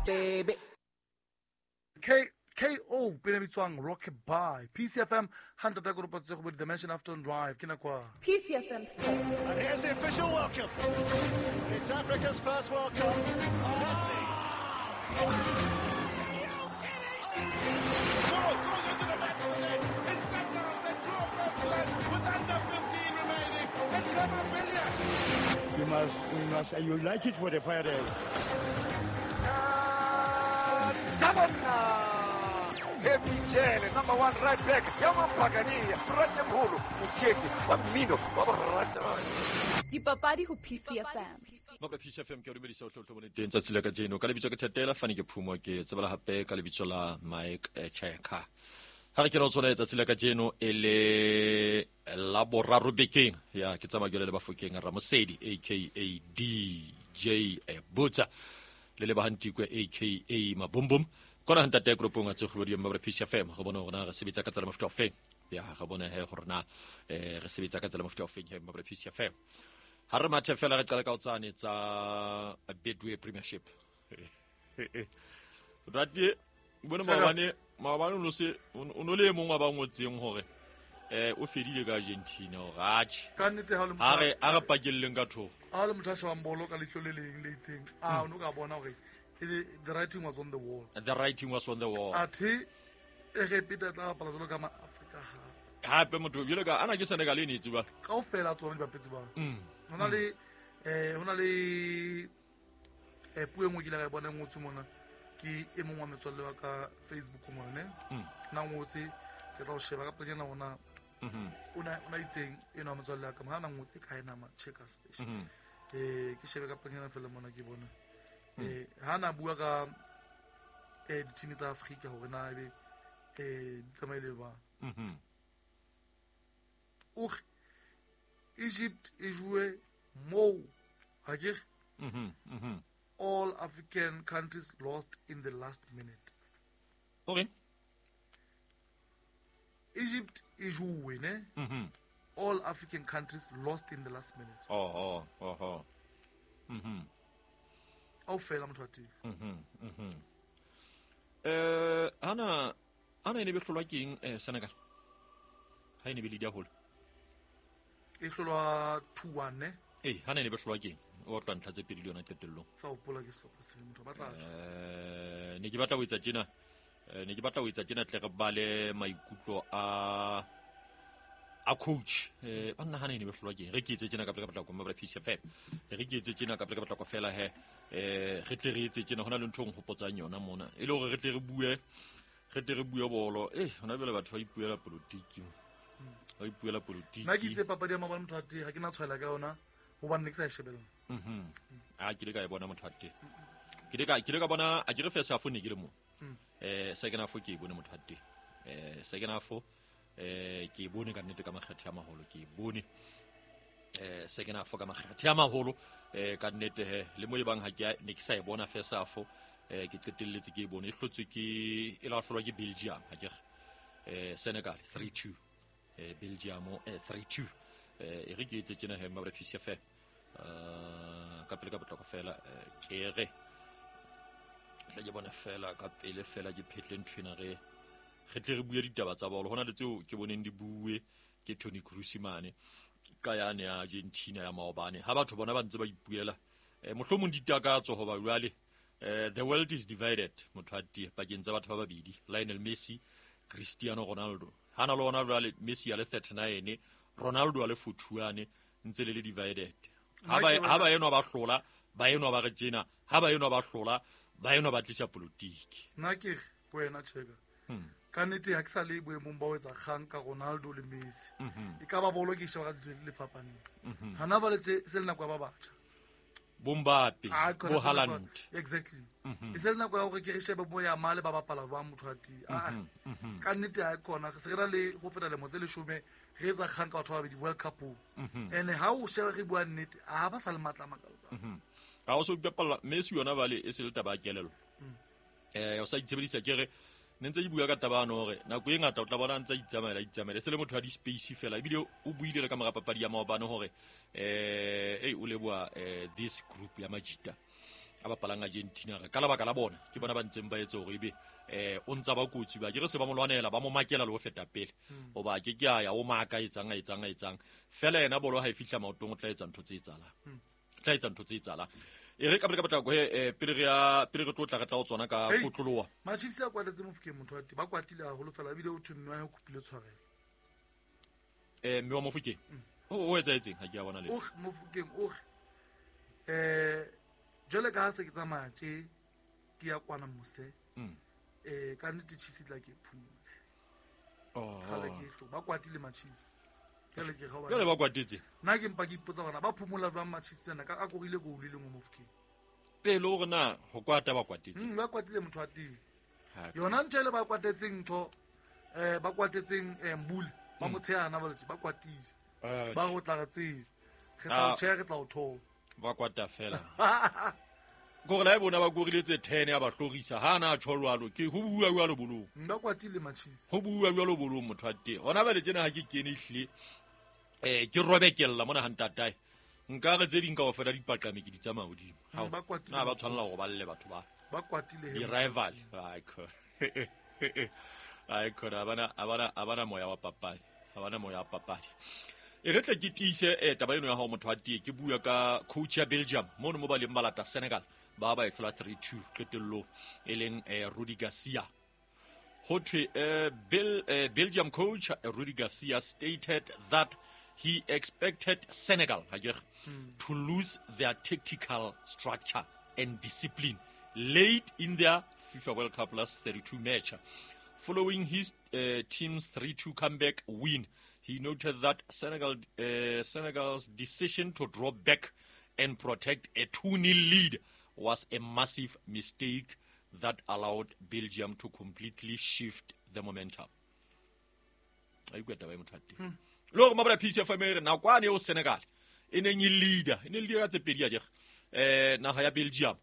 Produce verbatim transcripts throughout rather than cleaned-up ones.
Baby. K K O pele bitswang Rock By P C F M hundred ka ropa tse go bo Dimension Afternoon Drive ke nako. P C F M Sports. And here's the official welcome. It's Africa's first World Cup. Messi. Ball goes into the back of the net. It's Senegal that draw first blood with under fifteen remaining. And Clement Billiat. You must, we must unite it for the fire. Happy number one right back. Yamampagani, Ratemholo, Mutseti, Wamino, Wabarata. Dipapadi ho P C F M. Mabla P C F M ke o dumedisa o tlotlo bone teng tsatsi la kajeno ka lebitso ke Thatela Fani ke Phumo ke tsebela hape ka lebitso la Mike Cheka. Ha re ke re tsona tsatsi la kajeno e le la boraro bekeng ya ke tsamaya ke le Bafokeng Ramosedi aka D J Butsa le le Bahantikwe aka Mabumbum kona ntate group nga tse go di Mabla P C F M go bona gore re sebetsa ka tsela mofuta o feng ya ga bona he gore na eh re sebetsa ka tsela mofuta o feng he Mabla P C F M. Ha re mathe fela re qala ka o tsane tsa Betway Premiership. Rati bona maobane maobane o se o no le mong wa ba ngotseng hore eh o fedile ka Argentina o ratjhe. Ka nnete ha le motho ha re a re pakelleng ka thoko. Ha le motho a shebang bolo ka leihlo le leng le itseng a o no ka bona hore the writing was on the wall. The writing was on the wall. Athe e re pita tla bapala jwalo ka ma Afrika hape. Hape motho jwalo ka ana ke Senegal e ne tseba. Kaofela tsona di bapetse ba. Hona le eh hona le eh puo e nngwe ke ile ka e bona e ngotswe mona ke e mong wa metswalle wa ka Facebook mona ne. Na ngotse ke tla o sheba ka pelenyana ona. O na o na itseng eno wa metswalle wa ka ha na ngotse ka ena ma checkers. Eh ke shebe ka pelenyana fela mona ke bona. Eh ha na bua ka eh di-team tsa Afrika hore na ebe eh di tsamaile ba. Mhm. O Egypt e joue mo akere. Mhm mhm. All African countries lost in the last minute. Okay. Egypt e joue ne? Mhm. All African countries lost in the last minute. Oh oh oh oh. Mhm. Au fela motho a teng. Mhm mhm. Eh ana ana ene be hlolwa keng eh Senegal? Ha ene be le dia holo. E hlolwa two one ne? Eh ha ne be hlolwa keng? O tla ntlha tse pedi le yona qetellong. Sa hopola ke sehlopha se motho ba tla tjho. Eh ne ke batla ho etsa tjena. Eh ne ke batla ho etsa tjena tle re bale maikutlo a a coach. Eh ba nna ha ne be hlolwa keng? Re ke etse tjena ka pele ka batla go Mabla P C F M. Re ke etse tjena ka pele ka batla go fela he. Eh re tle re etse tjena hona le ntho e nhopotsang yona mona. E le hore re tle re bue re tle re bue bolo. Eh hona jwale batho ba ipuela politiki. Ba ipuela politiki. Nna ke itse papadi ya maobane motho a teng ha ke na tshwaela ka yona hobane ne ke sa e shebella. Mhm. A ke ile ka e bona motho a teng. Ke ile ka ke ile ka bona a ke re first half ne ke le mo. Eh second half ke e bone motho a teng. Eh second half eh ke e bone ka nnete ka makgethe a maholo ke e bone. Eh second half ka makgethe a maholo eh ka nnete he le mo e bang ha ke ne ke sa e bona first half eh ke qetelletse ke e bone e hlotswe ke e la hlolwa ke Belgium ha ke re. Eh Senegal three two. Eh Belgium eh three two. Eh e re ke etse tjena he Mabla P C F M. Eh ka pele ka potlako fela ke re tla ke bona fela ka pele fela ke phetle nthwena re re tle re bue ditaba tsa bolo hona le tseo ke boneng di bue ke Toni Kroos mane ka yane ya Argentina ya maobane ha batho bona ba ntse ba ipuela eh mohlomong ditakatso hoba jwale eh the world is divided motho a tie pakeng tsa batho ba babedi Lionel Messi Cristiano Ronaldo hana le ona jwale Messi a le thirty-nine Ronaldo a le forty-one ntse le le divided ha ba ha ba enwa ba hlola ba enwa ba re tjena ha ba enwa ba hlola ba enwa ba tlisa politiki nna ke wena cheka ka nnete ha ke sa le boemong ba ho etsa kgang ka Ronaldo le Messi e ka ba bolo ke sheba ka le fapaneng hana ba le tse se le nako ya ba batjha bo Mbappe bo Haaland exactly e se le nako ya hore ke re shebe bo ya male ba bapala ba motho a teng ka nnete ha kona se re na le ho feta lemo tse leshome re etsa kgang ka batho ba babedi World Cup ene ha o sheba re bua nnete ha ba sa le matla makalo ha o so bapala Messi yona bale e se le taba ya kelello eh o sa itshebedisa ke re ne ntse ke bua ka taba ano hore nako e ngata o tla bona ntse itsamaela itsamaela se le motho wa di-space fela ebile o buile le ka mora papadi ya maobane hore eh ei o leboha eh this group ya Majita a bapalang Argentina re ka lebaka la bona ke bona ba ntseng ba etse hore ebe eh o ntsa ba kotsi ba ke re se ba mo lwanela ba mo makela le ho feta pele hoba ke ke a ya o maka etsang a etsang a etsang fela yena bolo ha e fihla maotong o tla etsa ntho tse etsahalang tla etsa ntho tse etsahalang e re ka pele ka potlako he pele re ya pele re tlo tla re tla o tsona ka kotloloa ma-Chiefs a kwatetse Mofokeng motho wa teng ba kwatile haholo fela ebile o thwe mme wa hae o kopile tshwarelo eh mme wa Mofokeng o o etsaetseng ha ke a bona le o Mofokeng o eh jwale ka ha se ke tsamaya tje ke ya kwana mose eh ka nnete Chiefs e tla ke phumule oh kgale ke tlo ba kwatile ma-Chiefs jwale ke ga jwale ba kwatetse nna ke mpa ke ipotsa bona ba phumola jwang ma-Chiefs ana ka a korile goal e le nngwe Mofokeng e le hore na ho kwata ba kwatetse mm ba kwatile motho wa teng yona ntho ele ba kwatetseng ntho eh ba kwatetseng Mbule ba mo tshehana ba letse ba kwatile ba go tla re tsebe re tla o tjheha re tla o thola ba kwata fela gore la e bona ba koriletse ten ya ba hlorisa ha na tjho jwalo ke ho bua jwalo bolong ba kwatile ma-Chiefs ho bua jwalo bolong motho wa teng hona ba le tjena ha ke kene ehlile eh ke robekella mona ha ntatae nka re tse ding kaofela di paqame ke di tsamaya hodimo ba kwatile na ba tshwanela hore ba lle batho ba ba kwatile he di-rival ai kho ai khona abana abana abana moya wa papadi abana moya wa papadi e re tle ke tiise eh taba eno ya hao motho wa tee ke bua ka coach ya Belgium mono mo ba leng ba lata Senegal ba ba e hlola three two qetellong e leng eh, Rudi Garcia ho thwe eh, Bel, eh, Belgium coach Rudi Garcia stated that he expected Senegal mm. to lose their tactical structure and discipline late in their FIFA World Cup last thirty-two match. Following his uh, team's three two comeback win, he noted that Senegal, uh, Senegal's decision to drop back and protect a two nil lead was a massive mistake that allowed Belgium to completely shift the momentum. Le hore mabala P C F M re nakwane eo Senegal e neng e leader e ne leader ka tse pedi akere eh naha ya Belgium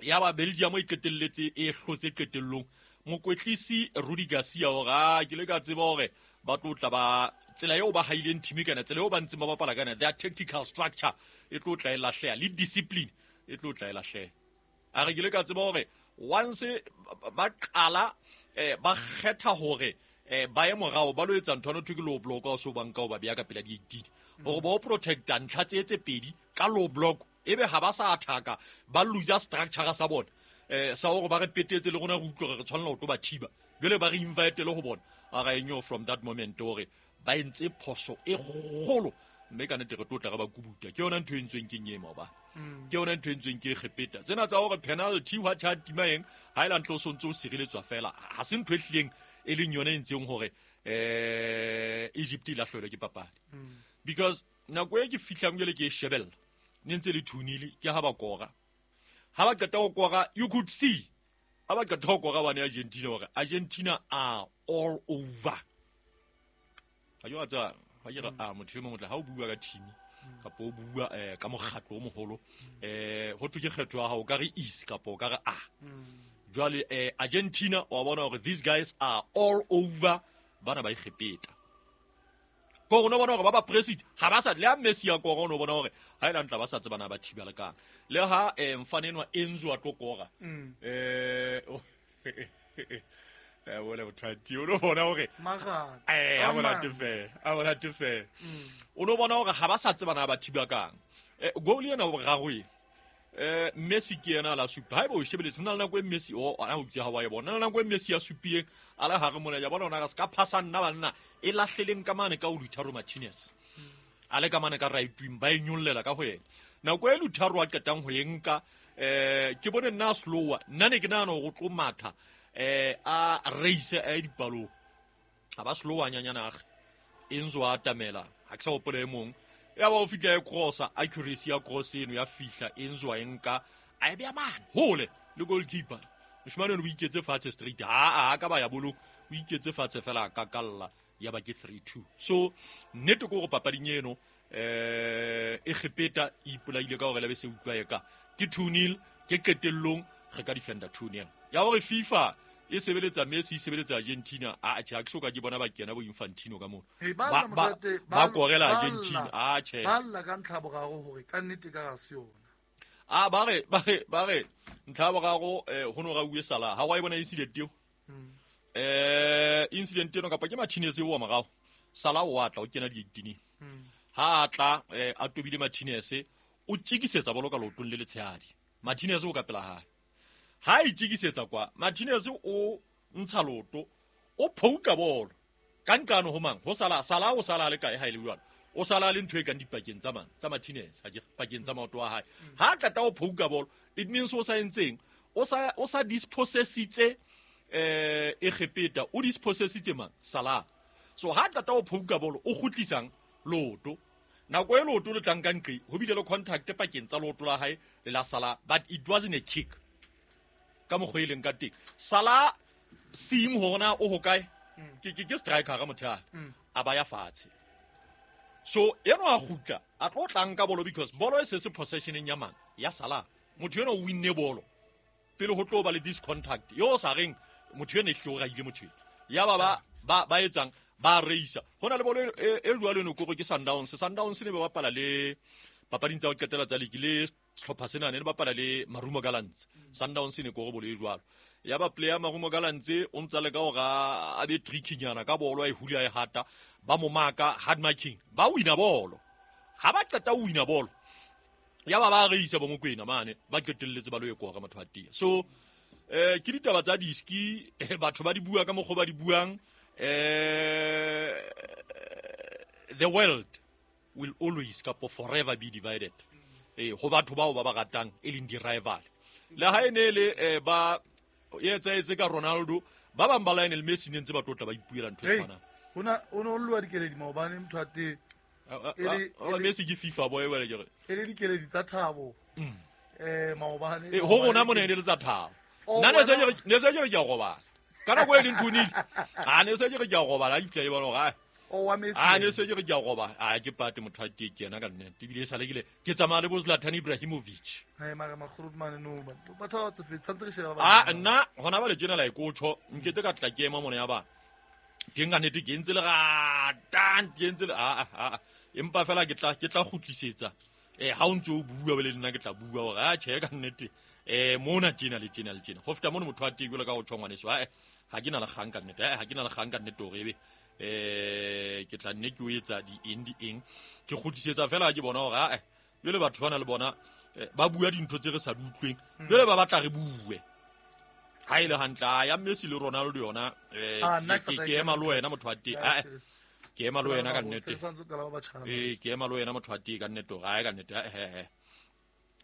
ya ba Belgium e qetelletse e hlotse qetellong mokwetlisi Rudi Garcia hore a ke le ka tseba hore ba tlo tla ba tsela eo ba haileng team kana tsela eo ba ntseng ba bapala kana their tactical structure e tlo tla e lahleha le discipline e tlo tla e lahleha a re ke le ka tseba hore once ba qala ba kgetha hore eh ba ye morao ba lo etsa ntho no ke low block o so banka o ba beya ka pela di eighteen hore ba o protecta ntlha tse tse pedi ka low block ebe ha ba sa attack-a ba lose structure sa bona eh sa hore ba re petetse le rona re utlwe re tshwanela ho tlo ba thiba jwale ba re invite le ho bona a ra enyo from that moment hore ba entse phoso e kgolo mme ka nnete re tlo tla re ba kubuta ke yona ntho e ntsweng ke nyema ba ke yona ntho e ntsweng ke kgepeta tsena tsa hore penalty wa tjha tima eng ha ela ntlo so ntse o sireletswa fela ha se ntho e hlileng e leng yona e ntseng hore eh Egypt e lahlelwe ke papadi because nako e ke fihlang jwale ke e shebella ne ntse le two nil ke ha ba kora ha ba qeta ho kora you could see ha ba qeta ho kora bane Argentina hore Argentina are all over ha yo tsa ha ke re a motho e mong ha o bua ka team kapa o bua eh ka mokgatlo o moholo eh ho thwe ke kgetho ya hao ka re is kapa o ka re a jwale eh Argentina wa bona hore these guys are all over bana ba ikgepeta ko rona bona hore ba ba president ha ba sa le ha Messi ya kora o bona hore ha ela ntla ba sa tsebana ba thibela kang le ha eh mfane enwa Enzo a tlo kora eh eh wala bothati o no bona hore magana eh a bona tefe a bona tefe o no bona hore ha ba sa tsebana ba thiba kang eh goal ena o boraro e eh Messi ke yena la supa ha bo shebeletse hona le nako e Messi o ana o itse ha wa e bona na nako e Messi ya supileng ala ha re mona ya bona ona ka ska phasa nna banna e lahleleng ka mane ka o Lautaro Martinez a le ka mane ka right wing ba e nyollela ka ho yena nako e Lautaro a qetang ho e nka eh ke bone nna slower nna ne ke nahana hore o tlo matha eh a race a dipalo a ba slower nyanyana ag Enzo a atamela ha ke sa hopola e mong ya ba o fihla e crossa accuracy ya cross eno ya fihla Enzo a nka a e beya mane hole le goalkeeper moshimane o iketse fatshe straight ha a ka ba ya bolo o iketse fatshe fela ka kalla ya ba ke three two so nnete ko go papading eno eh e kgepeta e ipolaile ka hore le be se utlwa e ka ke two nil ke qetellong re ka defender two nil ya hore FIFA e sebeletsa Messi e sebeletsa Argentina a tjhe ha ke soka ke bona ba kena bo Infantino ka mono ba ba korela Argentina a tjhe ba lla ka ntlha boraro hore ka nnete ka ga se yona A ba re ba re ba re ntlha ba gago ho no ga uwe sala ha wa e bona incident eo. Eh incident eno kapa ke Martinez eo wa morao. Sala o atla o kena di-eighteen. Ha atla a tobile Martinez o tjikisetsa bolo ka leotong le letshehadi. Martinez o ka pela hae. Ha e tjikisetsa kwa Martinez o ntsha loto o phouka bolo. Ka nqano ho mang ho sala sala o sala le kae ha ile jwalo. O sala le ntho e kang dipakeng tsa mang tsa Martinez ha ke pakeng tsa maoto a hae. Ha qeta o phouka bolo it means o sa entseng o sa o sa dispossessitse eh Egepeta o dispossessitse mang Salah. So ha qeta o phouka bolo o kgutlisang loto. Nako e loto le tlang ka nqe ho bile le contact pakeng tsa loto la hae le la Salah, but it wasn't a kick. Ka mokgwa e leng ka teng Salah seeing hore na o hokae ke ke ke striker ga motho a a ba ya fatshe. So eno a kgutla a tlo tlang ka bolo because bolo e se se possessioneng ya mang ya Salah. Motho eno o winne bolo pele ho tlo ba le this contact yo sa reng motho eno e hlora ile motho ya ba ba ba ba etsang ba reisa hona le bolo e jwalo no kore ke Sundowns. Sundowns ne ba bapala le papading tsa ho qetela tsa league le sehlopha sena ne ba bapala le Marumo Gallants. Sundowns ne kore bolo e jwalo ya ba player Marumo Gallants o ntsa le ka hore a be trickynyana ka bolo a e hula e hata ba mo maka hard marking ba wina bolo. Ha ba qeta ho wina bolo ya ba ba reisa bo Mokwena mane ba qetelletse ba lo e kora motho a tia. So eh ke ditaba tsa diski batho ba di bua ka mokgwa ba di buang. Eh the world will always kapo forever be divided. Eh ho batho bao ba ba ratang e leng di rival. Le ha ene le ba etsa etse ka Ronaldo ba bang ba Lionel Messi ne ntse ba tlotla ba ipuela ntho e tshwanang. Hona o no lwa dikeledi maobane motho a teng. E le Messi ke FIFA boy wena ke re. E le dikeledi tsa thabo. Eh maobane. Eh ho rona mona e le tsa thabo. Nna ne se ke ne se ke re ke a robala. Ka nako e leng thunile. A ne se ke re ke a robala ke tla e bona hore o wa Messi. A ne se ke re ke a robala. A ke pate motho a teng ke yena ka nnete. Ebile e sale ke le ke tsamaya le bo Zlatan Ibrahimovic. Hai mara Magrudman no ba batho ba tsofetse santse re sheba ba. A nna hona ba le tjena la e kotjho nkete ka tla ke ema mona ya ba. Ke nka nnete ke ntse le rata ke ntse le a a empa fela ke tla ke tla kgutlisetsa. Eh ha o ntse o bua bele nna ke tla bua hore a tjhe ka nnete. Eh mona tjena le tjena le tjena. Ho feta mona motho a teng jwalo ka ho tjho ngwaneso. Ha ha ke na le kgang ka nnete. Ha ke na le kgang ka nnete hore ebe eh ke tla nne ke o etsa di eng di eng. Ke kgutlisetsa fela ke bona hore a jwale batho bana le bona ba bua dintho tse re sa di utlweng. Jwale ba batla re bue. Ha ile hantle ya Messi le Ronaldo yona eh ke ema le wena motho a teng. Ke ema le wena ka nnete. Eh ke ema le wena motho a teng ka nnete hore a ka nnete eh eh.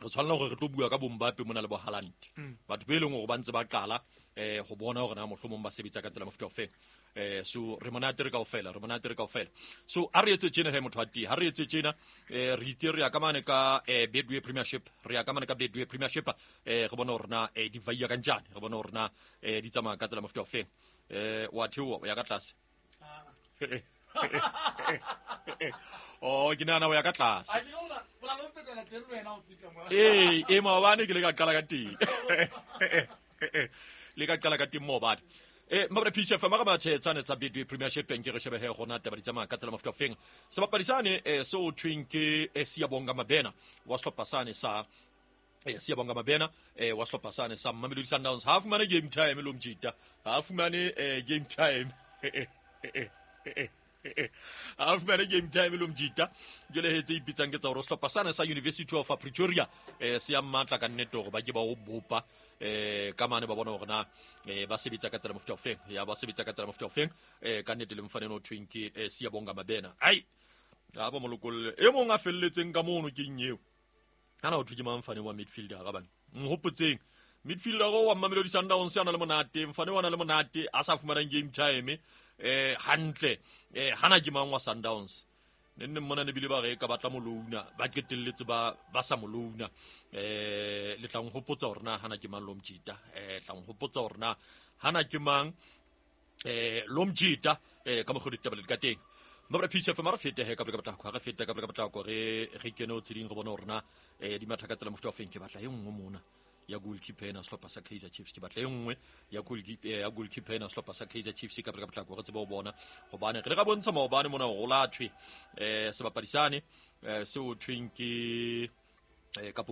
Re tshwanela hore re tlo bua ka bo Mbappe mona le bo Haaland. Batho be leng hore ba ntse ba qala eh ho bona hore na mohlomong ba sebetsa ka tsela mofuta ofe. Eh so re monate re kaofela, re monate re kaofela. So a re etse tjena he motho a teng, ha re etse tjena eh re itse re ya ka mane ka eh Betway Premiership, re ya ka mane ka Betway Premiership eh re bona hore na eh di vaiya ka njani, re bona hore na eh di tsamaya ka tsela mofuta ofe. Eh wa theoha o ya ka tlase. Oh ke nana o ya ka tlase. Eh e maobane ke le ka qala ka teng. Le ka qala ka teng maobane. Eh mabra P C F mara ba tshetsane tsa Betway Premiership nke re shebe he gona taba di tsamaya ka tsela mofuta ofeng. Sebapadi sane eh so thweng ke Siyabonga Mabena wa sehlopha sane sa eh Siyabonga Mabena eh wa sehlopha sane sa Mamelodi Sundowns. Ha fumane game time lo mjita. Ha fumane eh game time. Ha fumane game time lo mjita. Jwale he tse ipitsang ke tsa hore sehlopha sane sa University of Pretoria eh se ya matla ka nnete hore ba ke ba o bopa eh ka mane ba bona hore na eh ba sebetsa ka tsela mofuta ofeng ya ba sebetsa ka tsela mofuta ofeng eh ka nnete le mfane no thweng ke eh, Siyabonga Mabena. Ai a ba molokolle e mong a felletseng ka mono ke eng eo ana o thwe ke mang mfane wa midfielder ga bana nhopotseng midfielder go wa Mamelodi Sundowns ana le monate mfane wa na le monate a sa fumanang game time eh hantle eh hana ke mang wa Sundowns ne nne mmona ne bile ba re ka batla molouna ba qetelletse ba ba sa molouna eh le tlang hopotsa hore na hana ke mang lo mjita eh tlang hopotsa hore na hana ke mang eh lo mjita eh ka mokgwa ditaba le ka teng mabra P C F mara fete he ka ka batla re fete ka ka batla re re kene o tseding re bona hore na eh di matha ka tsela mofuta ofeng ke batla e nngwe mona ya goalkeeper ena sehlopha sa Kaizer Chiefs ke batla e nngwe ya goalkeeper ya goalkeeper ena sehlopha sa Kaizer Chiefs ka ka batla re tsebe ho bona hobane re re ka bontsha maobane mona hore o lathwe eh sebapadi sane eh seo thweng ke eh kapo